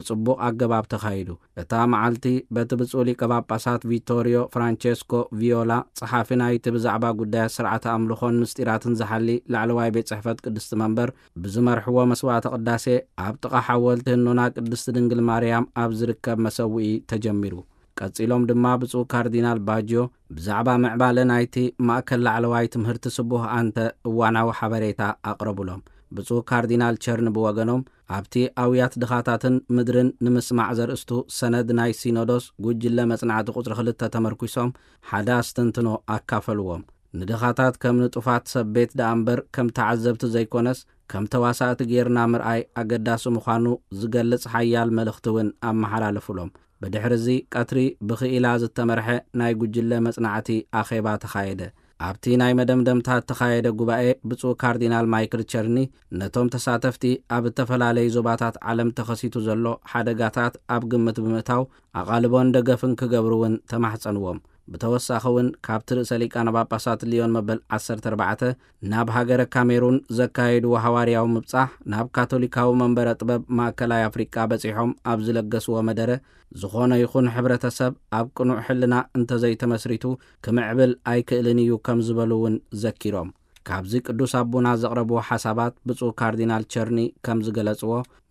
ብጽቡቕ ኣገባብ ተኻይዱ። እታ መዓልቲ በቲ ብፁዕ ሊቀ ጳጳሳት ቪቶሪዮ ፍራንቸስኮ ቪዮላ፣ ጸሓፊ ናይቲ ብዛዕባ ጉዳያት ስርዓተ ኣምልኾን ምስጢራትን ዝሓሊ ላዕለዋይ ቤት ጽሕፈት ቅድስቲ መንበር ብዝመርሕዎ መስዋዕተ ቅዳሴ፣ ኣብ ጥቓ ሓወልቲ ህኖና ቅድስቲ ድንግል ማርያም ኣብ ዝርከብ መሰውኢ ተጀሚሩ። ቀጺሎም ድማ ብፁዕ ካርዲናል ባጅዮ ብዛዕባ ምዕባለ ናይቲ ማእከል ላዕለዋይ ትምህርቲ ስቡህ ኣንተ እዋናዊ ሓበሬታ ኣቕረቡሎም። ብፁዕ ካርዲናል ቸርን ብወገኖም፣ ኣብቲ ኣውያት ድኻታትን ምድርን ንምስማዕ ዘርእስቱ ሰነድ ናይ ሲኖዶስ ጉጅለ መጽናዕቲ ቁጽሪ ክልተ ተመርኲሶም ሓደ ኣስተንትኖ ኣካፈልዎም። ንድኻታት ከም ንጡፋት ሰብ ቤት ደኣ እምበር ከም ተዓዘብቲ ዘይኮነስ ከም ተዋሳእቲ ጌርና ምርኣይ ኣገዳሲ ምዃኑ ዝገልጽ ሓያል መልእኽቲ እውን ኣመሓላለፉሎም። ብድሕርዚ ቀትሪ ብኽኢላ ዝተመርሐ ናይ ጉጅለ መጽናዕቲ ኣኼባ ተኻየደ። ኣብቲ ናይ መደምደምታ እተኻየደ ጉባኤ፣ ብፁዕ ካርዲናል ማይክል ቸርኒ ነቶም ተሳተፍቲ ኣብ እተፈላለዩ ዞባታት ዓለም ተኸሲቱ ዘሎ ሓደጋታት ኣብ ግምት ብምእታው ኣቓልቦን ደገፍን ክገብሩ እውን ተማሕጸንዎም። ብተወሳኺ እውን ካብቲ ርእሰ ሊቃነ ጳጳሳት ሊዮን መበል ዓሰርተ ኣርባዕተ ናብ ሃገረ ካሜሩን ዘካየድዎ ሃዋርያዊ ምብጻሕ፣ ናብ ካቶሊካዊ መንበረ ጥበብ ማእከላይ ኣፍሪቃ በጺሖም ኣብ ዝለገስዎ መደረ፣ ዝኾነ ይኹን ሕብረተሰብ ኣብ ቅኑዕ ሕልና እንተዘይተመስሪቱ ክምዕብል ኣይክእልን እዩ ከም ዝበሉ እውን ዘኪሮም። ካብዚ ቅዱስ ኣቦና ዘቕረብዎ ሓሳባት ብፁዕ ካርዲናል ቸርኒ ከም ዝገለጽዎ፣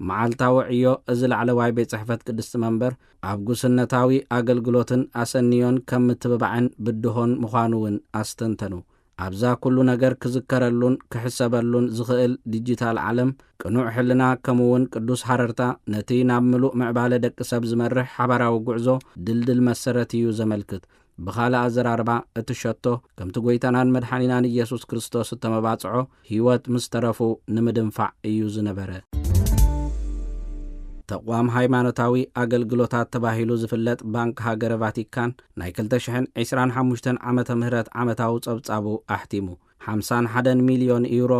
መዓልታዊ ዕዮ እዚ ላዕለዋይ ቤት ጽሕፈት ቅድስቲ መንበር ኣብ ጉስነታዊ ኣገልግሎትን ኣሰንዮን ከም ምትብባዕን ብድሆን ምዃኑ እውን ኣስተንተኑ። ኣብዛ ኩሉ ነገር ክዝከረሉን ክሕሰበሉን ዝኽእል ዲጂታል ዓለም፣ ቅኑዕ ሕልና ከምኡውን ቅዱስ ሃረርታ ነቲ ናብ ምሉእ ምዕባለ ደቂ ሰብ ዝመርሕ ሓባራዊ ጉዕዞ ድልድል መሰረት እዩ ዘመልክት። ብኻልእ ኣዘራርባ፣ እቲ ሸቶ ከምቲ ጐይታናን መድሓኒናን ኢየሱስ ክርስቶስ እተመባጽዖ ህይወት ምስ ተረፉ ንምድንፋዕ እዩ ዝነበረ። ተቋም ሃይማኖታዊ ኣገልግሎታት ተባሂሉ ዝፍለጥ ባንክ ሃገረ ቫቲካን ናይ ክልተ ሽሕን ዕስራን ሓሙሽተን ዓመተ ምህረት ዓመታዊ ጸብጻቡ ኣሕቲሙ። ሓምሳን ሓደን ሚልዮን ዩሮ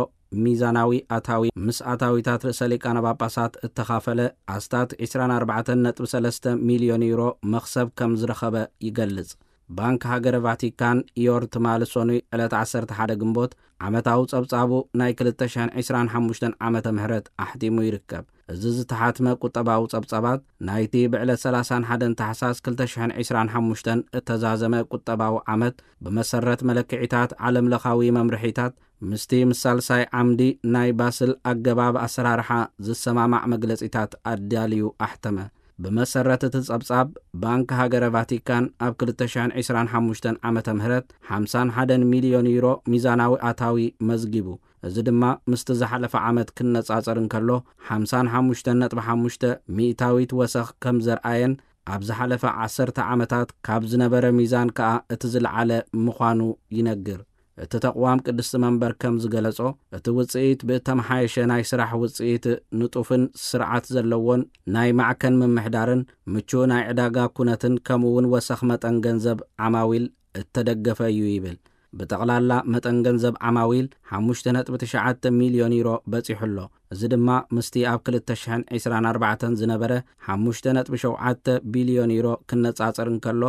ሚዛናዊ ኣታዊ ምስ ኣታዊታት ርእሰ ሊቃነ ጳጳሳት እተኻፈለ ኣስታት ዕስራን ኣርባዕተን ነጥቢ ሰለስተ ሚልዮን ዩሮ መኽሰብ ከም ዝረኸበ ይገልጽ። ባንክ ሃገረ ቫቲካን ኢዮር ትማሊ ሰኑይ ዕለት ዓሰርተ ሓደ ግንቦት ዓመታዊ ጸብጻቡ ናይ ክልተ ሽሕን ዕስራን ሓሙሽተን ዓመተ ምህረት ኣሕቲሙ ይርከብ። እዚ ዝተሓትመ ቁጠባዊ ጸብጻባት ናይቲ ብዕለት ሰላሳን ሓደን ታሕሳስ ክልተ ሽሕን ዕስራን ሓሙሽተን እተዛዘመ ቁጠባዊ ዓመት ብመሰረት መለክዒታት ዓለምለኻዊ መምርሒታት ምስቲ ምስ ሳልሳይ ዓምዲ ናይ ባስል ኣገባብ ኣሰራርሓ ዝሰማማዕ መግለጺታት ኣዳልዩ ኣሕተመ። ብመሰረት እቲ ጸብጻብ፣ ባንክ ሃገረ ቫቲካን ኣብ ክልተ ሽሕን ዕስራን ሓሙሽተን ዓመተ ምህረት ሓምሳን ሓደን ሚልዮን ዩሮ ሚዛናዊ ኣታዊ መዝጊቡ። እዚ ድማ ምስቲ ዝሓለፈ ዓመት ክነጻጸር እንከሎ፣ ሓምሳን ሓሙሽተን ነጥቢ ሓሙሽተ ሚእታዊት ወሰኽ ከም ዘርኣየን፣ ኣብ ዝሓለፈ ዓሰርተ ዓመታት ካብ ዝነበረ ሚዛን ከኣ እቲ ዝለዓለ ምዃኑ ይነግር። እቲ ተቕዋም ቅድስቲ መንበር ከም ዝገለጾ፣ እቲ ውጽኢት ብእተመሓየሸ ናይ ስራሕ ውጽኢት፣ ንጡፍን ስርዓት ዘለዎን ናይ ማዕከን ምምሕዳርን ምቹእ ናይ ዕዳጋ ኩነትን ከምኡ እውን ወሰኽ መጠን ገንዘብ ዓማዊል እተደገፈ እዩ ይብል። ብጠቕላላ መጠን ገንዘብ ዓማዊል ሓሙሽተ ነጥቢ ትሽዓተ ሚልዮን ዩሮ በጺሑ ኣሎ። እዚ ድማ ምስቲ ኣብ ክልተ ሽሕን ዕስራን ኣርባዕተን ዝነበረ ሓሙሽተ ነጥቢ ሸውዓተ ቢልዮን ዩሮ ክነጻጸር እንከሎ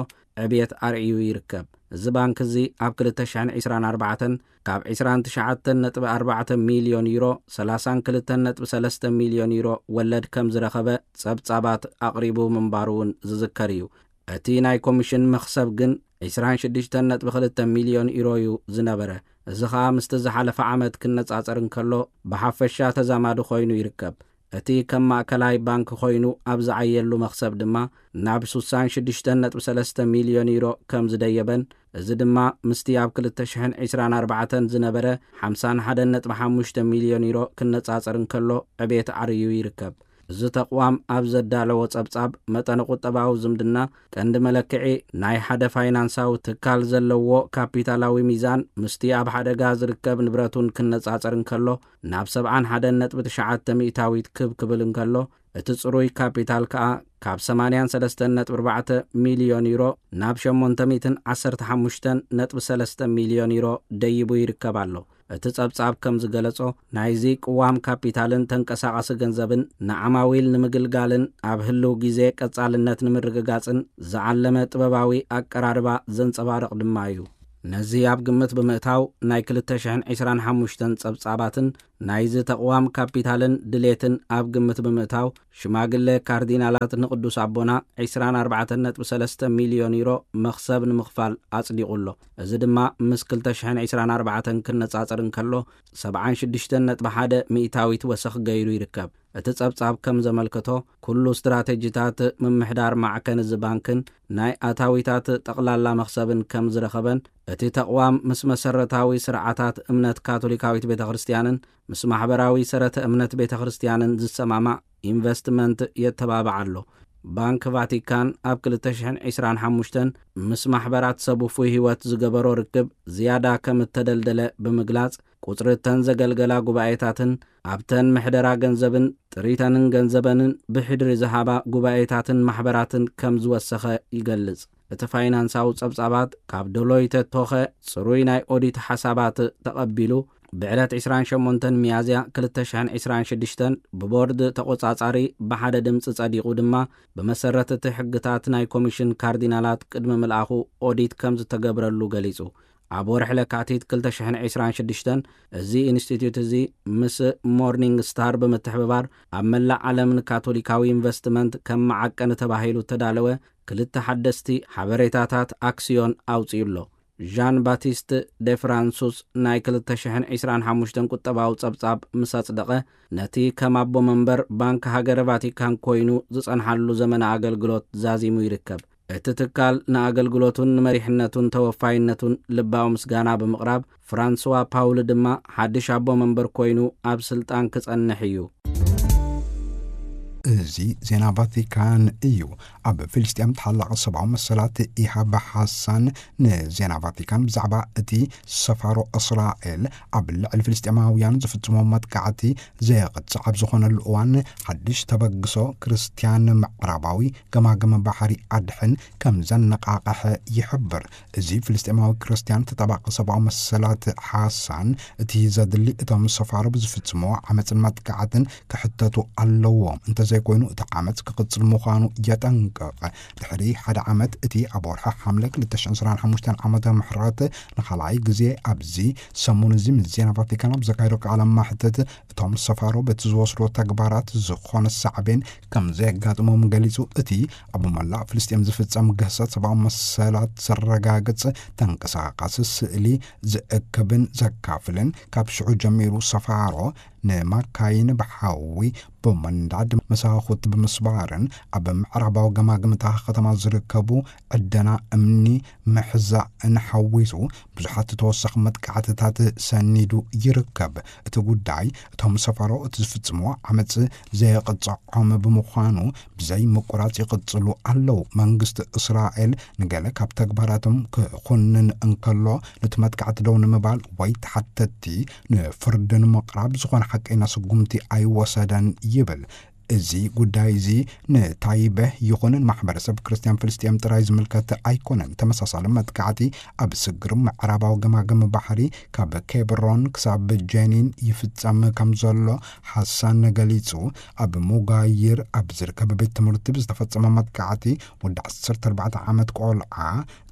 ዕብየት ኣርእዩ ይርከብ። እዚ ባንክ እዚ ኣብ ክልተ ሽሕን ዕስራን ኣርባዕተን ካብ ዕስራን ትሽዓተን ነጥቢ ኣርባዕተ ሚልዮን ዩሮ፣ ሰላሳን ክልተን ነጥቢ ሰለስተ ሚልዮን ዩሮ ወለድ ከም ዝረኸበ ጸብጻባት ኣቕሪቡ ምንባሩ እውን ዝዝከር እዩ። እቲ ናይ ኮሚሽን መኽሰብ ግን ዕስራን ሽዱሽተን ነጥቢ ክልተ ሚልዮን ዩሮ እዩ ዝነበረ። እዚ ኸኣ ምስቲ ዝሓለፈ ዓመት ክነጻጸር እንከሎ ብሓፈሻ ተዛማዲ ኮይኑ ይርከብ። እቲ ከም ማእከላይ ባንክ ኮይኑ ኣብ ዝዓየሉ መኽሰብ ድማ ናብ ሱሳን ሽዱሽተን ነጥቢ ሰለስተ ሚልዮን ዩሮ ከም ዝደየበን፣ እዚ ድማ ምስቲ ኣብ ክልተ ሽሕን ዕስራን ኣርባዕተን ዝነበረ ሓምሳን ሓደን ነጥቢ ሓሙሽተ ሚልዮን ዩሮ ክነጻጸር እንከሎ ዕቤት ዓርዩ ይርከብ። እዚ ተቕዋም ኣብ ዘዳለዎ ጸብጻብ፣ መጠነ ቁጠባዊ ዝምድና ቀንዲ መለክዒ ናይ ሓደ ፋይናንሳዊ ትካል ዘለዎ ካፒታላዊ ሚዛን ምስቲ ኣብ ሓደጋ ዝርከብ ንብረቱን ክነጻጸር እንከሎ፣ ናብ ሰብዓን ሓደን ነጥቢ ትሽዓተ ሚእታዊት ክብ ክብል እንከሎ፣ እቲ ጽሩይ ካፒታል ከኣ ካብ ሰማንያን ሰለስተን ነጥቢ ኣርባዕተ ሚልዮን ዩሮ ናብ ሸሞንተ ሚእትን ዓሰርተ ሓሙሽተን ነጥቢ ሰለስተ ሚልዮን ዩሮ ደይቡ ይርከብ ኣሎ። እቲ ጸብጻብ ከም ዝገለጾ፣ ናይዚ ቅዋም ካፒታልን ተንቀሳቓሲ ገንዘብን ንዓማዊል ንምግልጋልን ኣብ ህልው ግዜ ቀጻልነት ንምርግጋጽን ዝዓለመ ጥበባዊ ኣቀራርባ ዘንጸባርቕ ድማ እዩ። ነዚ ኣብ ግምት ብምእታው፣ ናይ ክልተ ሽሕን ዕስራን ሓሙሽተን ጸብጻባትን ናይዚ ተቕዋም ካፒታልን ድሌትን ኣብ ግምት ብምእታው፣ ሽማግለ ካርዲናላት ንቅዱስ ኣቦና ዕስራን ኣርባዕተን ነጥቢ ሰለስተ ሚልዮን ዩሮ መኽሰብ ንምኽፋል ኣጽዲቑ ኣሎ። እዚ ድማ ምስ ክልተ ሽሕን ዕስራን ኣርባዕተን ክነጻጸር እንከሎ፣ ሰብዓን ሽዱሽተን ነጥቢ ሓደ ሚእታዊት ወሰኽ ገይሩ ይርከብ። እቲ ጸብጻብ ከም ዘመልከቶ፣ ኩሉ ስትራተጂታት ምምሕዳር ማዕከን እዚ ባንክን ናይ ኣታዊታት ጠቕላላ መኽሰብን ከም ዝረኸበን፣ እቲ ተቕዋም ምስ መሰረታዊ ስርዓታት እምነት ካቶሊካዊት ቤተ ክርስቲያንን ምስ ማሕበራዊ ሰረተ እምነት ቤተ ክርስቲያንን ዝሰማማዕ ኢንቨስትመንት የተባብዕ ኣሎ። ባንክ ቫቲካን ኣብ ክልተ ሽሕን ዕስራን ሓሙሽተን ምስ ማሕበራት ሰብ ውፉይ ህይወት ዝገበሮ ርክብ ዝያዳ ከም እተደልደለ ብምግላጽ፣ ቁጽሪ እተን ዘገልገላ ጉባኤታትን ኣብተን ምሕደራ ገንዘብን ጥሪተንን ገንዘበንን ብሕድሪ ዝሃባ ጉባኤታትን ማሕበራትን ከም ዝወሰኸ ይገልጽ። እቲ ፋይናንሳዊ ጸብጻባት ካብ ዶሎይተ ቶኸ ጽሩይ ናይ ኦዲት ሓሳባት ተቐቢሉ፣ ብዕለት ዕስራን ሸሞንተን ሚያዝያ ክልተ ሽሕን ዕስራን ሽዱሽተን ብቦርድ ተቖጻጻሪ ብሓደ ድምጺ ጸዲቑ ድማ፣ ብመሰረት እቲ ሕግታት ናይ ኮሚሽን ካርዲናላት ቅድሚ ምልኣኹ ኦዲት ከም ዝተገብረሉ ገሊጹ። ኣብ ወርሒ ለካቲት ክልተ ሽሕን ዕስራን ሽዱሽተን፣ እዚ ኢንስቲትዩት እዚ ምስ ሞርኒንግ ስታር ብምትሕብባር፣ ኣብ መላእ ዓለም ንካቶሊካዊ ኢንቨስትመንት ከም መዓቀኒ ተባሂሉ እተዳለወ ክልተ ሓደስቲ ሓበሬታታት ኣክስዮን ኣውጺኡ ኣሎ። ዣን ባቲስት ደ ፍራንሱስ ናይ ክልተ ሽሕን ዕስራን ሓሙሽተን ቁጠባዊ ጸብጻብ ምስ ኣጽደቐ፣ ነቲ ከም ኣቦ መንበር ባንክ ሃገረ ቫቲካን ኮይኑ ዝጸንሓሉ ዘመነ ኣገልግሎት ዛዚሙ ይርከብ። እቲ ትካል ንኣገልግሎቱን ንመሪሕነቱን ተወፋይነቱን ልባዊ ምስጋና ብምቕራብ፣ ፍራንስዋ ፓውል ድማ ሓድሽ ኣቦ መንበር ኮይኑ ኣብ ስልጣን ክጸንሕ እዩ። እዚ ዜና ቫቲካን እዩ። ኣብ ፍልስጤም ተሓላቒ ሰብኣዊ መሰላት ኢሃብ ሓሳን ንዜና ቫቲካን ብዛዕባ እቲ ሰፋሮ እስራኤል ኣብ ልዕሊ ፍልስጤማውያን ዝፍጽሞ መጥቃዕቲ ዘየቕጽዕ ኣብ ዝኾነሉ እዋን፣ ሓድሽ ተበግሶ ክርስትያን ምዕራባዊ ገማግም ባሕሪ ኣድሕን ከም ዘነቓቕሐ ይሕብር። እዚ ፍልስጤማዊ ክርስትያን ተጣባቂ ሰብኣዊ መሰላት ሓሳን፣ እቲ ዘድሊ እቶም ሰፋሮ ብዝፍጽምዎ ዓመፅን መጥቃዕትን ክሕተቱ ኣለዎም፣ እንተዘይኮይኑ እቲ ዓመፅ ክቕፅል ምዃኑ የጠንቅቕ። ድሕሪ ሓደ ዓመት፣ እቲ ኣብ ወርሒ ሓምለ ክልተ ሽሕን ዕስራን ሓሙሽተን ዓመተ ምሕረት ንኻልኣይ ግዜ ኣብዚ ሰሙን እዚ ምስ ዜና ቫቲካን ኣብ ዘካየዶ ቃለ ማሕተት፣ እቶም ሰፋሮ በቲ ዝወስዶ ተግባራት ዝኾነ ሳዕቤን ከም ዘየጋጥሞም ገሊጹ። እቲ ኣብ መላእ ፍልስጤም ዝፍጸም ግህሰት ሰብኣዊ መሰላት ዘረጋግጽ ተንቀሳቓሲ ስእሊ ዝእክብን ዘካፍልን፣ ካብ ሽዑ ጀሚሩ ሰፋሮ ንማካይን ብሓዊ ብምንዳድ፣ መሳኹቲ ብምስባርን ኣብ ምዕራባዊ ገማግምታ ከተማ ዝርከቡ ዕደና እምኒ ምሕዛእን ሓዊሱ ብዙሓት ተወሳኺ መጥቃዕትታት ሰኒዱ ይርከብ። እቲ ጉዳይ፣ እቶም ሰፋሮ እቲ ዝፍጽምዎ ዓመጽ ዘየቕጽዖም ብምዃኑ፣ ብዘይ ምቁራጽ ይቕጽሉ ኣለዉ። መንግስቲ እስራኤል ንገለ ካብ ተግባራቶም ክኹንን እንከሎ፣ ነቲ መጥቃዕቲ ደው ንምባል ወይ ተሓተትቲ ንፍርዲ ንምቕራብ ዝኾነ ሓቀይና ስጉምቲ ኣይወሰደን ይብል። እዚ ጉዳይ እዚ ንታይበህ ይኹን ንማሕበረሰብ ክርስትያን ፍልስጤም ጥራይ ዝምልከት ኣይኮነን። ተመሳሳሊ መጥቃዕቲ ኣብ ስግር ምዕራባዊ ገማግም ባሕሪ ካብ ኬብሮን ክሳብ ጀኒን ይፍጸም ከም ዘሎ ሓሳን ገሊጹ። ኣብ ሙጋይር ኣብ ዝርከብ ቤት ትምህርቲ ብዝተፈጸመ መጥቃዕቲ ወዲ ዓሰርተ ኣርባዕተ ዓመት ቆልዓ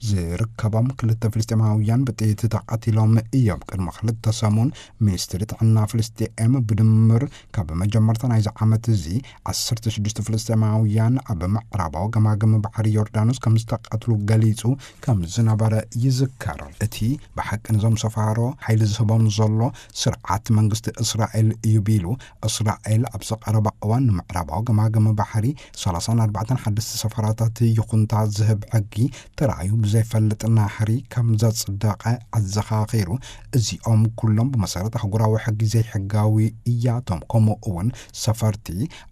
ዝርከቦም ክልተ ፍልስጤማውያን ብጥይት ተቐቲሎም እዮም። ቅድሚ ክልተ ሰሙን፣ ሚኒስትሪ ጥዕና ፍልስጤም ብድምር ካብ መጀመርታ ናይዚ ዓመት እዚ ዓሰርተ ሽዱሽተ ፍልስጤማውያን ኣብ ምዕራባዊ ገማግም ባሕሪ ዮርዳኖስ ከም ዝተቐትሉ ገሊጹ ከም ዝነበረ ይዝከር። እቲ ብሓቂ ነዞም ሰፋሮ ሓይሊ ዝህቦም ዘሎ ስርዓት መንግስቲ እስራኤል እዩ ቢሉ፣ እስራኤል ኣብዚ ቀረባ እዋን ንምዕራባዊ ገማግም ባሕሪ ሰላሳን ኣርባዕተን ሓደስቲ ሰፈራታት ይኹንታ ዝህብ ሕጊ ተራእዩ ብዘይፈልጥ ናህሪ ከም ዘጽደቐ ኣዘኻኺሩ። እዚኦም ኩሎም ብመሰረት ኣህጉራዊ ሕጊ ዘይሕጋዊ እያቶም። ከምኡ እውን ሰፈርቲ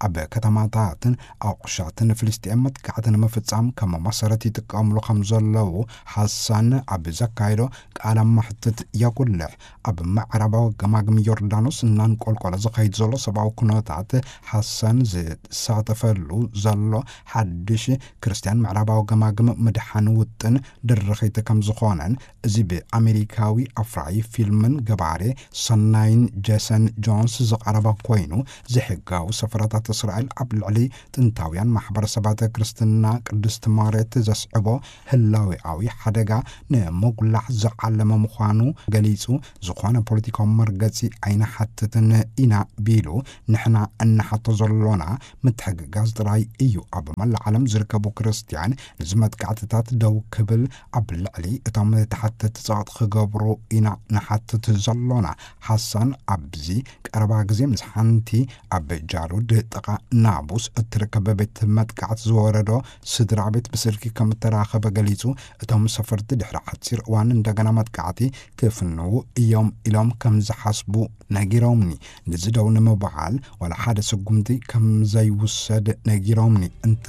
ኣብ ከተማታትን ኣቑሻትን ፍልስጤም መጥቃዕቲ ንምፍጻም ከም መሰረት ይጥቀምሉ ከም ዘለዉ ሓሳን ኣብ ዘካየዶ ቃለ መሕትት የጉልሕ። ኣብ ምዕራባዊ ገማግም ዮርዳኖስ እናንቆልቆለ ዝኸይድ ዘሎ ሰብኣዊ ኩነታት፣ ሓሳን ዝሳተፈሉ ዘሎ ሓድሽ ክርስትያን ምዕራባዊ ገማግም ምድሓን ውጥን ድርኺት ከም ዝኾነን፣ እዚ ብኣሜሪካዊ ኣፍራዪ ፊልምን ገባሬ ሰናይን ጄሰን ጆንስ ዝቐረበ ኮይኑ፣ ዘይሕጋዊ ሰፈራታት እስራኤል ኣብ ልዕሊ ጥንታውያን ማሕበረሰባት ክርስትና ቅድስቲ መሬት ዘስዕቦ ህላዌኣዊ ሓደጋ ንምጉላሕ ዝዓለመ ምዃኑ ገሊጹ፣ ዝኾነ ፖለቲካዊ መርገጺ ኣይንሓትትን ኢና ቢሉ፣ ንሕና እንሓቶ ዘሎና ምትሕግጋዝ ጥራይ እዩ። ኣብ መላእ ዓለም ዝርከቡ ክርስትያን ነዚ መጥቃዕትታት ደው ክብል፣ ኣብ ልዕሊ እቶም ተሓተቲ ጸቕጢ ክገብሩ ኢና ንሓትት ዘሎና። ሓሳን ኣብዚ ቀረባ ግዜ ምስ ሓንቲ ኣብ ጃሉድ ጥቓ ናቡስ እትርከብ ቤት መጥቃዕቲ ዝወረዶ ስድራ ቤት ብስልኪ ከም እተራኸበ ገሊጹ፣ እቶም ሰፈርቲ ድሕሪ ሓጺር እዋን እንደገና መጥቃዕቲ ክፍንዉ እዮም ኢሎም ከም ዝሓስቡ ነጊሮምኒ። ነዚ ደው ንምባል ዋላ ሓደ ስጉምቲ ከም ዘይውሰድ ነጊሮምኒ። እንተ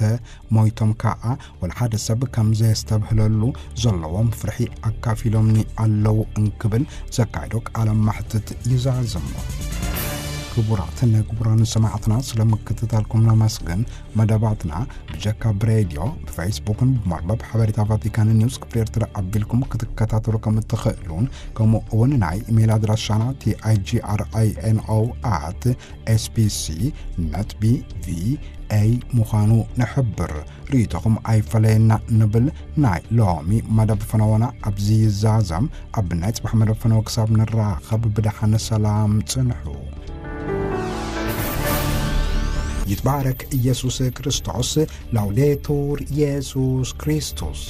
ሞይቶም ከኣ ዋላ ሓደ ሰብ ከም ዘየስተብህለሉ ዘለዎም ፍርሒ ኣካፊሎምኒ ኣለዉ እንክብል ዘካየዶ ቃለ መሕትት ይዛዝም። ክቡራትን ክቡራን ሰማዕትና፣ ስለ ምክትታልኩም ነመስግን። መደባትና ብጀካ ብሬድዮ፣ ብፌስቡክን ብመርበብ ሓበሬታ ቫቲካን ኒውስ ክፍሊ ኤርትራ ኣቢልኩም ክትከታተሉ ከም እትኽእሉን፣ ከምኡ እውን ናይ ኢሜይል ኣድራሻና ቲ ኣይ ጂ ኣር ኣይ ኤን ኦ ኣት ኤስ ቢ ሲ ነት ቢ ቪ ኤ ምዃኑ ንሕብር። ርእይቶኹም ኣይፈለየና ንብል። ናይ ሎሚ መደብ ፈነወና ኣብዚ ይዛዘም። ኣብ ናይ ጽባሕ መደብ ፈነወ ክሳብ ንራኸብ ብደሓን ሰላም ጽንሑ። ይትባረክ ኢየሱስ ክርስቶስ። ላውዴቱር ኢየሱስ ክርስቶስ።